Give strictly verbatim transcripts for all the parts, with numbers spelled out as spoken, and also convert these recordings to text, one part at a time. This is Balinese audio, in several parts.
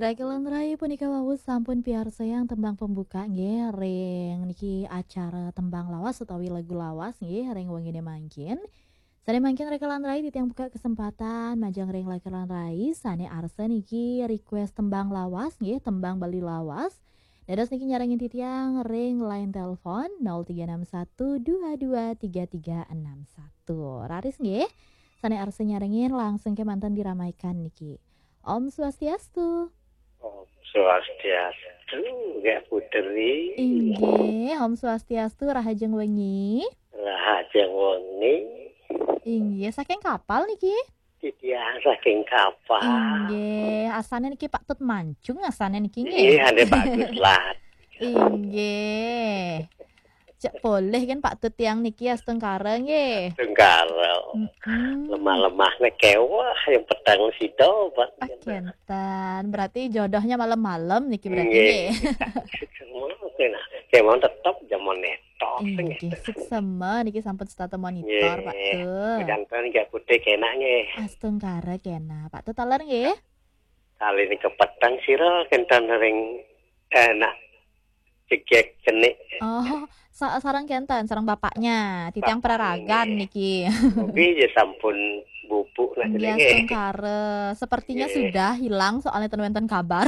Raka lan Rai, punika wau sampun piarsayang tembang pembuka nggih ring niki acara tembang lawas utawi lagu lawas nggih ring wengine mangkin. Sane mangkin Raka lan Rai titiang buka kesempatan majeng ring Raka lan Rai sane arsa niki request tembang lawas nggih, tembang Bali lawas. Dados niki nyarengin titiang ring line telepon nol tiga enam satu dua dua tiga tiga enam satu. Raris nggih. Sane arsa nyarengin langsung kemanten diramaikan niki. Om Swastiastu. Om Swastiastu, Gak Putri. Inggih, Om Swastiastu, rahajeng wengi. Rahajeng wengi. Inggih, saking kapal niki? Titiang saking kapal. Inggih, asane niki Pak Tut Mancung, asane niki nggih. Inggih, ane Pak Tut lah. Inggih. Cek polih kan Pak Tut tiang niki astungkara nggih. Astungkara. Mm-mm. Lemah-lemahne kewah yang peteng sida, Pak. Ah, kenten. Berarti jodohnya malam-malam niki berarti nggih. Nggih. Semua kena. Kemawon tetep jaman netok. Inggih, suksema niki sampun setata monitor, Pak Tut. Janten nggih putih kena nggih. Astungkara kena. Pak Tut taler nggih. Kali niki peteng sira kenten ring enak cegek cenik. Oh, sa- sareng kenten, sareng bapaknya, titiang Bapaknya. Peraragan niki. Mugi ya sampun bubuk nah. Inggih, jenenge. Astungkara. Sepertinya nggih. Sudah hilang soalnya ten wenten kabar.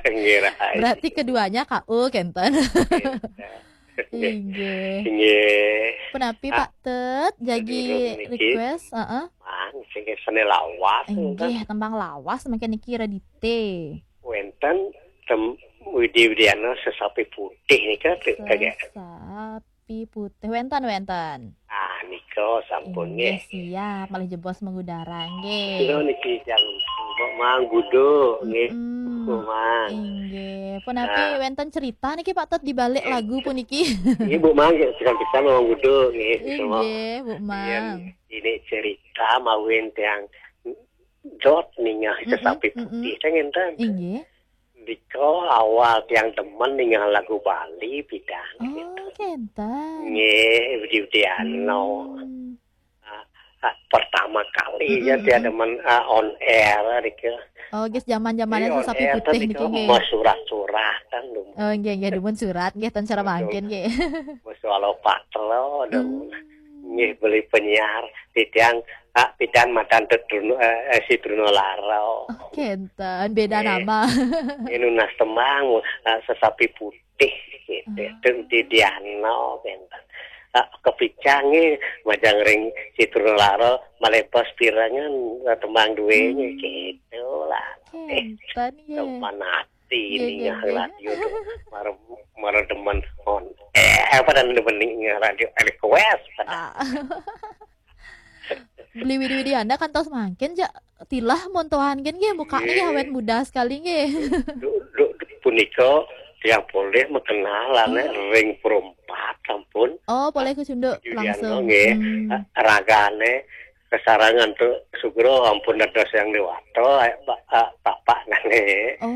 Nggih, Rai. Berarti keduanya K O kenten. Nggih. Inggih. Nggih. Punapi, ah, Pak Tut, jagi sedurung niki request, heeh. Mang, sing sene lawas, inggih, nggih. Tembang lawas mangke niki Redite. Wenten tem Widi Widiana Sesapi Putih nika, kagak. Sesapi Putih. Wenten, wenten. Ah, nika sampun nggih. Inggih, siap. Malih jebos mengudara nggih. Kula niki jam Mbok Mang Gudo nggih. Mm-mm. Mbok Mang. Inggih. Punapi, nah, wenten cerita niki Pak Tut di balik, nggih, lagu puniki? Nggih, Bu Mang, ya, pisan-pisan Mang Gudo nggih. Inggih, Bu Mang. Yen ini cerita mawin tiang dot ningah, mm-mm, Sesapi Putih, mm-mm, teh ngenten. Inggih. Nika awal tiang demen ningah lagu Bali pidan. Oh, gitu. Kenten. Nggih, Budi Udiano. Hmm. Ah, ah, pertama kali ya, mm-mm, dia demen, ah, on air nika. Oh, guys, zaman-zamannya Sesapi Putih niki nggih. Mas surat-surat kan lho. Oh, nggih, nggih, dumun surat nggih, ten cara mangkin nggih. Mas walau patelo dong. Hmm. Nggih, beli penyiar titiang, ah, pidan matan Tut Bruno, eh, eh, si Bruno Laro. Oh, kenten, beda nama. Nggih. Nunas tembang, ah, Sesapi Putih gitu. Hmm. Tut Didiano kenten. Ah, kepicang nggih, majeng ring si Bruno Laro, malebos pirengan, ah, tembang duwe nggih, gitu lah. Kenten nggih. Sopan ati. Nggih, nggih, ningah nggih. Radio tuh. Mara, mara demen on. Eh, apa dan demen ningah radio request. Ah. Beli Widi Widiana kantos mangkin ja tilah montohan kan nggih, mukanya nggih, nggih, awet muda sekali nggih. Duh, duh, duh, punika tiang polih makenal ane, oh, ring Perumpat sampun. Oh, polih kecunduk Widiana langsung. Nggih. Hmm. Ragane kesarengan tu Sugro ampun dados yang dewata, eh, ba-, eh, bapak nane. Oh,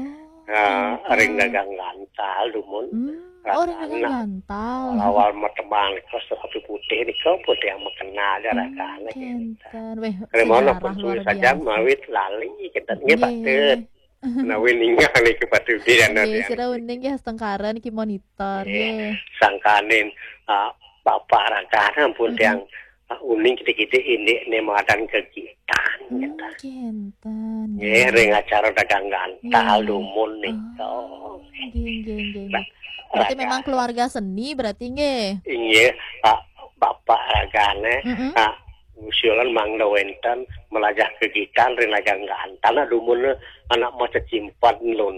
ah, kenten. Ring dagang gantal dumun. Hmm. Oh, ring dagang gantal. Awal-awal matembang nika Sesapi Putih nika pun yang makenal ya, hmm, ragane kenten. Kenten. Weh, sejarah luar biasa. Mawit lali kenten nggih, nggih. Patut. Menawi ninggal niki Pak Dudi, nggih, anak-anak. Sira uning nggih, astungkara niki monitor, nggih, nggih. Sangkaning, ah, Bapak Ragana ampun, mm-mm, tiang, ah, uning kidik-kidik indik ne madan kegiatan, hmm, gitu. Kenten, nggih, nggih. Ring acara dagang gantal, nggih, dumun nika. Oh, nggih, nggih, nggih, nggih. Nah, berarti Ragana memang keluarga seni berarti, nggih. Inggih, ah, Bapak Ragane, mm-mm, ah, usulan mangda wenten melajah kegiatan ring dagang gantal, nah, dumun anak mau cecimpat lun.